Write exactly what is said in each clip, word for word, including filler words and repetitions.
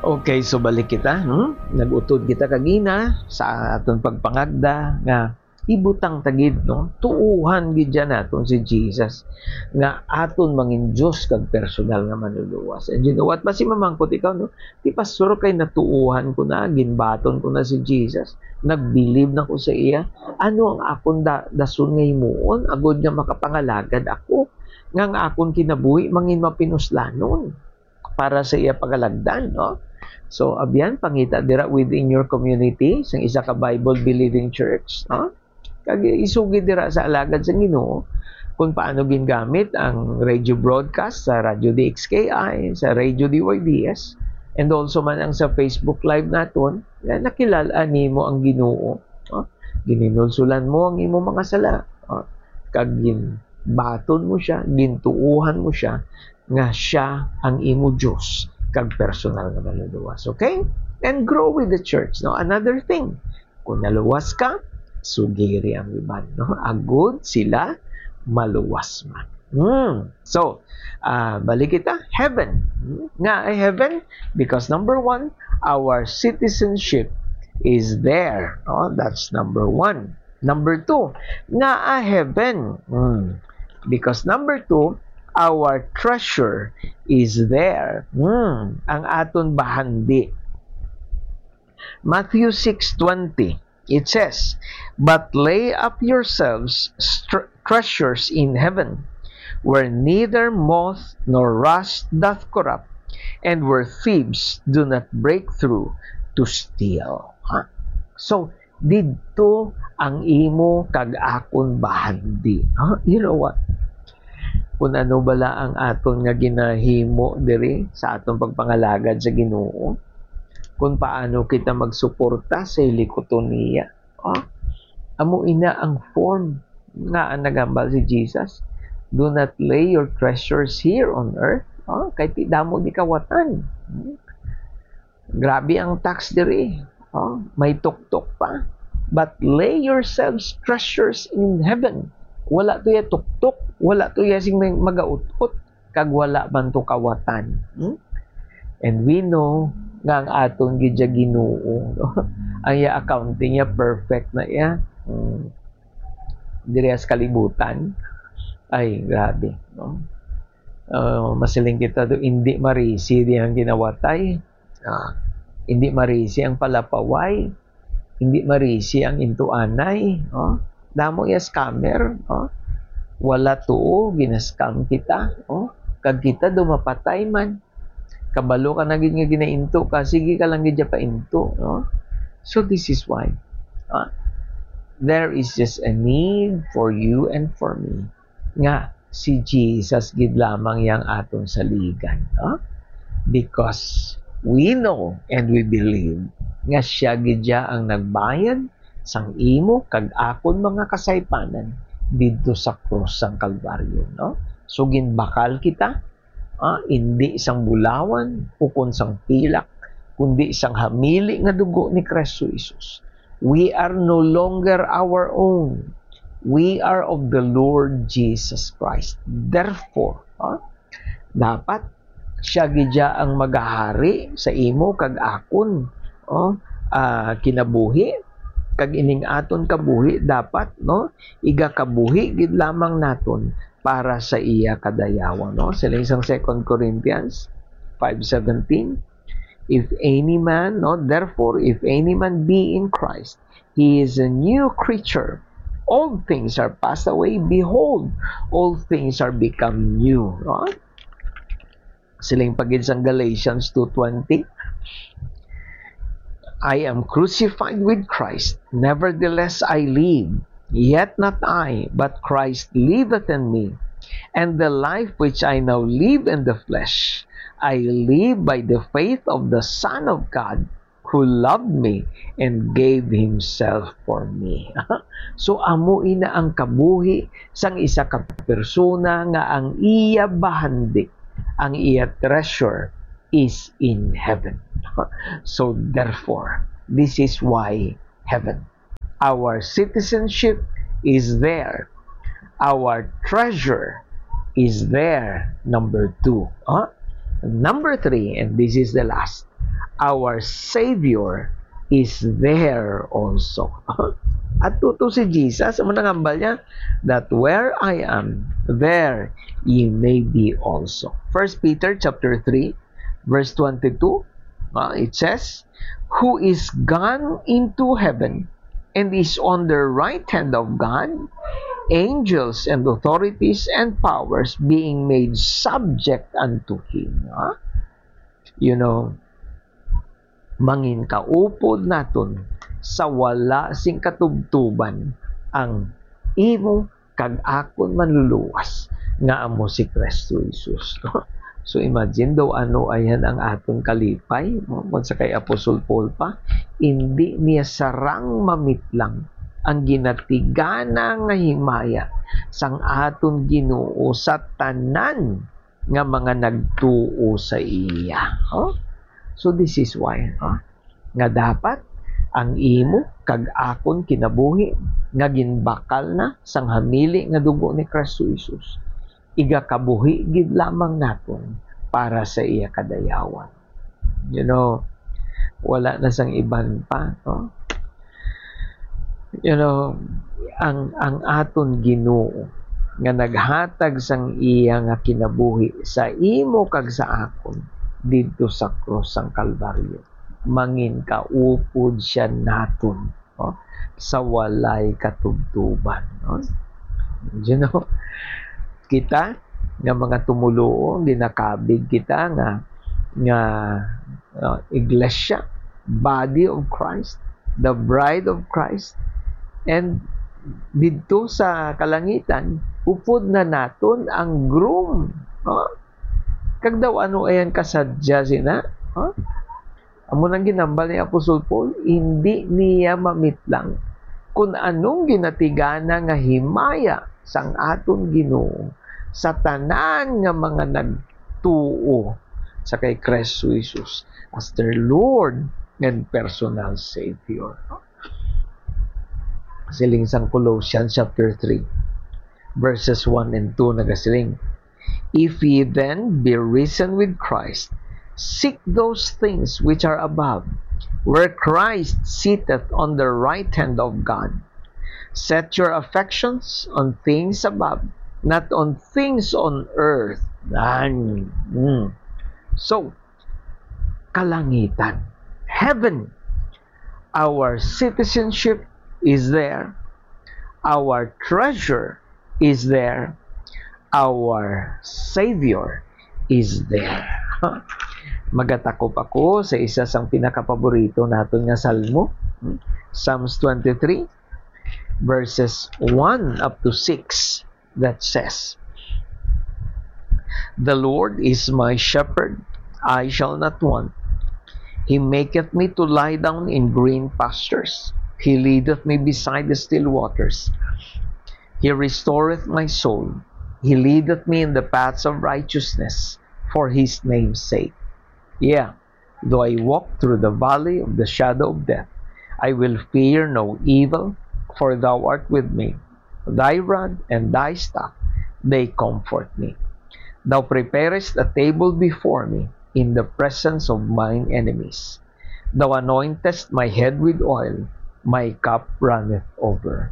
Okay, so balik kita, hmm? Nag-utod kita kagina sa aton pagpangagda nga ibutang ta gid, no? Tuohan gid dyan naton si Jesus nga aton mangin Diyos kag personal nga manluluwas. And you know what? Basi mamangkot ikaw, no? Ti pastor, kay natuohan ko na, ginbaton ko na si Jesus. Nagbilib na ko sa iya. Ano ang akon da-, dason nga himuon agod nga makapangalagad ako, nga ang akon kinabuhi mangin mapinuslanon para sa iya pagalagdan, no? So, abyan, pangita dira within your community, sang isa ka Bible-believing church, no? Kag isugid dira sa alagad sa Ginoo kung paano gingamit ang radio broadcast sa Radio D X K I, sa Radio D Y D S, and also man ang sa Facebook Live naton, nga nakilal-an nimo ang Ginoo, no? Gininulsolan mo ang imong mga sala, no? Kag ginbaton mo siya, gintuohan mo siya, nga siya ang imo Dios kag personal nga manluluwas. Okay? And grow with the church, no? Another thing, kung naluwas ka, sugiri ang iban, no? Agud sila maluwas man. Hmm. So, ah, balik kita, heaven. Hmm? Nga ay heaven? Because number one, our citizenship is there. No? That's number one. Number two, nga a heaven. Hmm. Because number two, our treasure is there. Hmm. Ang aton bahandi. Matthew six twenty, it says, "But lay up yourselves str-, treasures in heaven, where neither moth nor rust doth corrupt, and where thieves do not break through to steal." Ha? So, didto ang imo kag akon bahandi. Ha? You know what? Kung ano bala ang aton nga ginahimo diri sa aton pagpangalagad sa Ginoo, kung paano kita magsuporta sa hilikuton niya. Ah, amo ina ang form nga ang nagambal si Jesus. "Do not lay your treasures here on earth." Ah, kay ti damo di kawatan. Hmm? Grabe ang tax diri. Ah, may tuktok pa. "But lay yourselves treasures in heaven." Wala to ya tuktok, wala to ya sing may magaut-ot, kag wala man to kawatan. Hmm? And we know nga ang aton gid ya Ginoo, no? Ang iya accounting niya perfect na iya. Hmm. Diri sa kalibutan. Ay, grabe, no? Ah, masiling kita do, hindi marisi di ang ginawatay. Ah, hindi marisi ang palapaway. Hindi marisi ang intuanay, oh. Damo ya scammer, oh. Wala tuo, gina-scam kita, oh. Kag kita do mapatay man. Kabalo ka na gid nga ginainto ka, sige ka lang gid ya painto, no? So this is why, ah, there is just a need for you and for me nga si Jesus gid lamang yang aton saligan, no? Because we know and we believe nga siya gid ya ang nagbayad sang imo kag akon mga kasaypanan didto sa krus sang Kalbaryo, no? So, ginbakal kita, ah, indi sang bulawan ukon sang pilak, kundi sang hamili nga dugo ni Cristo Jesus. We are no longer our own. We are of the Lord Jesus Christ. Therefore, ah, dapat siya gid ya ang magahari sa imo kag akon, oh, ah, kinabuhi, kag ining aton kabuhi dapat, no, igakabuhi gid lamang naton para sa iya kadayawan, no? Siling sang Second Corinthians five seventeen, "If any man, no, therefore, if any man be in Christ, he is a new creature. Old things are passed away. Behold, all things are become new." No? Siling pa gid sang Galatians two twenty, "I am crucified with Christ. Nevertheless, I live. Yet not I, but Christ liveth in me. And the life which I now live in the flesh, I live by the faith of the Son of God, who loved me and gave himself for me." So, amo ina ang kabuhi sang isa ka persona nga ang iya bahandi, ang iya treasure is in heaven. So, therefore, this is why heaven. Our citizenship is there. Our treasure is there. Number two. Huh? Number three, and this is the last, our Savior is there also. At tuto si Jesus, amo nang hambal niya, "That where I am, there ye may be also." First Peter chapter three, verse twenty-two, uh, it says, "Who is gone into heaven and is on the right hand of God, angels and authorities and powers being made subject unto him." Ah? You know, mangin kaupod naton sa wala sing katubtuban ang imo kag akon Manluluwas, nga amo si Kristo Jesus. So, imagine daw ano ayan ang aton kalipay, no? Kung sa kay Apostol Paul pa, "Indi niya sarang mamitlang ang ginatigana nga himaya sang aton Ginoo sa tanan nga mga nagtuo sa iya." Oh? So, this is why, oh, nga dapat ang imo kag akon kinabuhi nga ginbakal na sang hamili nga dugo ni Kristo Jesus, igakabuhi gid lamang naton para sa iya kadayawan. You know, wala na sang iban pa, no? You know, ang, ang aton Ginoo nga naghatag sang iya nga kinabuhi sa imo kag sa akon didto sa krus sang Kalbaryo, mangin kaupod siya naton, no? Sa walay katubtuban, no? You know, kita nga mga tumoluo, ginakabig kita nga, nga, uh, iglesia, body of Christ, the bride of Christ, and didto sa kalangitan, upod na naton ang groom, no? Kag daw ano ayan kasadya sina? Ha? Amo nang ginambal ni Apostol Paul, "Hindi niya mamitlang kun anong ginatigana nga himaya sang aton Ginoo sa tanan nga mga nagtuo sa kay Kristo Jesus as their Lord and personal Savior." Siling sang Colossians chapter three, verses one and two nagasiling, "If ye then be risen with Christ, seek those things which are above, where Christ sitteth on the right hand of God. Set your affections on things above, not on things on earth." Yan. Mm. So, kalangitan, heaven, our citizenship is there. Our treasure is there. Our Savior is there. Magatakop ako sa isa sang pinakapaborito naton nga salmo, hmm? Psalms twenty-three, verses one up to six, that says, "The Lord is my shepherd, I shall not want. He maketh me to lie down in green pastures. He leadeth me beside the still waters. He restoreth my soul. He leadeth me in the paths of righteousness for his name's sake. Yeah, though I walk through the valley of the shadow of death, I will fear no evil, for thou art with me. Thy rod and thy staff, they comfort me. Thou preparest a table before me in the presence of mine enemies. Thou anointest my head with oil, my cup runneth over.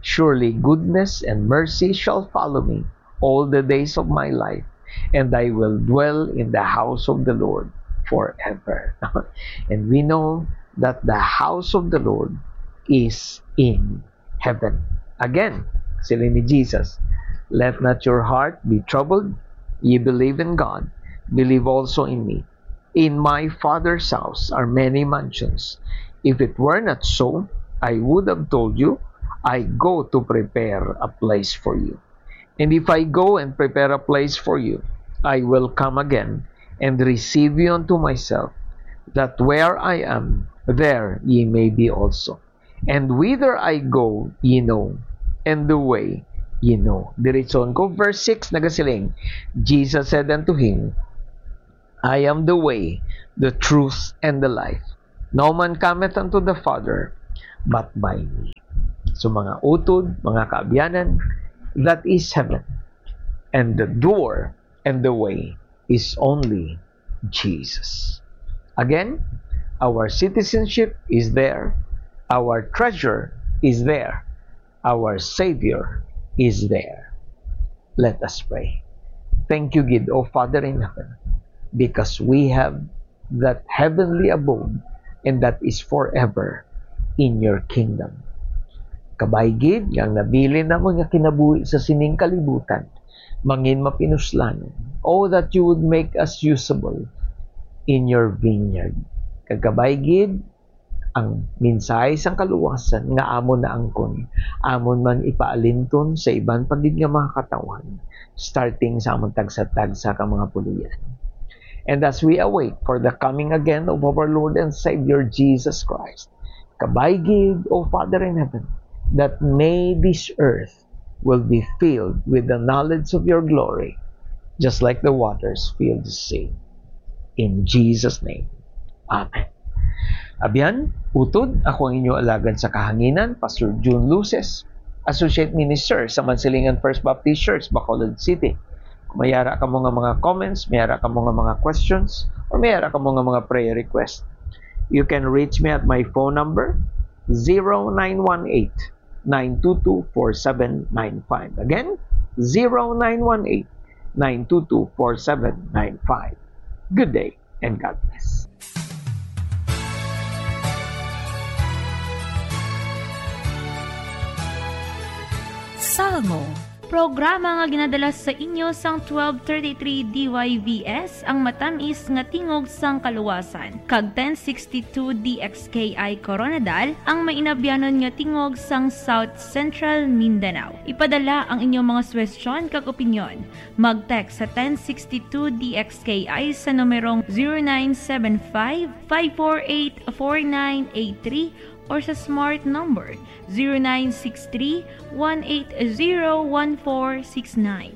Surely goodness and mercy shall follow me all the days of my life, and I will dwell in the house of the Lord forever." And we know that the house of the Lord is in heaven. Again, siling ni Jesus, "Let not your heart be troubled. Ye believe in God, believe also in me. In my Father's house are many mansions. If it were not so, I would have told you, I go to prepare a place for you. And if I go and prepare a place for you, I will come again and receive you unto myself, that where I am, there ye may be also. And whither I go, ye know, and the way ye know." Diretson ko, verse six, nagasiling, Jesus said unto him, "I am the way, the truth, and the life. No man cometh unto the Father but by me." So, mga utod, mga kaabyanan, that is heaven. And the door and the way is only Jesus. Again, Our citizenship is there. Our treasure is there. Our Savior is there. Let us pray. Thank you gid, O Father in heaven, because we have that heavenly abode, and that is forever in your kingdom. Kabay gid nga ang nabilin namon nga kinabuhi sa sining kalibutan mangin mapinuslanon. Oh, that you would make us usable in your vineyard. Kag kabay gid ang mensahe sang kaluwasan nga amon naangkon, amon man ipaalinton sa iban pa gid nga mga katawhan, starting sa amon tagsa-tagsa ka mga puloy-an. And as we await for the coming again of our Lord and Savior Jesus Christ, kabay gid, O Father in heaven, that may this earth will be filled with the knowledge of your glory, just like the waters fill the sea. In Jesus' name, amen. Abyan, utod, ako ang inyo alagad sa kahanginan, Pastor June Luces, Associate Minister sa Mansilingan First Baptist Church, Bacolod City. Kung may ara kamo nga mga comments, may ara kamo nga mga questions, or may ara kamo nga mga prayer request, you can reach me at my phone number, zero nine one eight, nine two two, four seven nine five. Again, zero nine one eight, nine two two, four seven nine five. Good day and God bless. Salmo, programa nga ginadala sa inyo sang twelve thirty-three D Y V S, ang matamis nga tingog sang kaluwasan, kag ten sixty-two D X K I Koronadal, ang mainabyanon nga tingog sang South Central Mindanao. Ipadala ang inyong mga suwestyon kag opinyon. Mag-text sa ten sixty-two D X K I sa numerong zero nine seven five, five four eight, four nine eight three or sa smart number zero nine six three, one eight zero, one four six nine.